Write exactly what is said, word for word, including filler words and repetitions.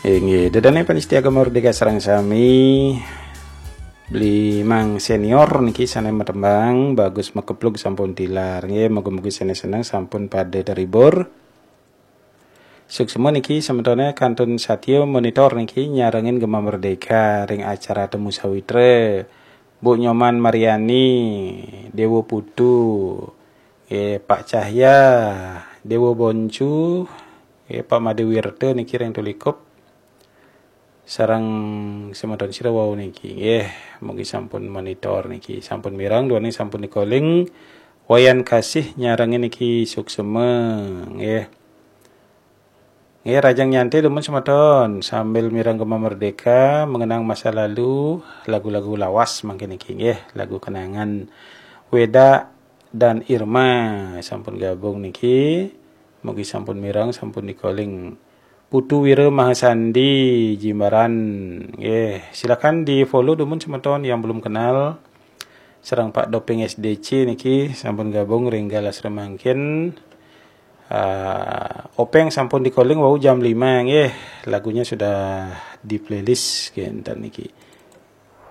Inggih, ida dané pamiarsa Gema Merdeka sareng sami. Beli Mang Senior niki sané matembang, Bagus Makeplug sampun tilar. Nggih, mugi-mugi sané seneng sampun pada terhibur. Suksma niki semetoné kantun satya monitor niki nyarengin Gema Merdeka ring acara Temu Sawitra. Bu Nyoman Mariani, Dewa Putu, eh, Pak Cahya, Dewa Boncu, eh, Pak Made Wirta niki ring Tulikup. Sareng semeton sira wau niki. Nggih, mugi sampun monitor niki. Sampun mireng, duaning sampun dikoling. Wayan Kasih nyarengin niki suksma. Nggih. Nggih, rahajeng nyantai dumun semeton sambil mireng Gema Merdeka, mengenang masa lalu, lagu-lagu lawas mangkin niki nggih, lagu kenangan. Weda dan Irma sampun gabung niki. Mugi sampun mireng, sampun dikoling. Putu Wira Mahasandi Jimbaran. Nggih, silakan di-follow dumun semeton yang belum kenal. Sareng Pak Doping S D C niki sampun gabung ring galah semangkin. Ah, Openg sampun dikoling wau jam lima nggih. Lagunya sudah di-playlist kinten niki.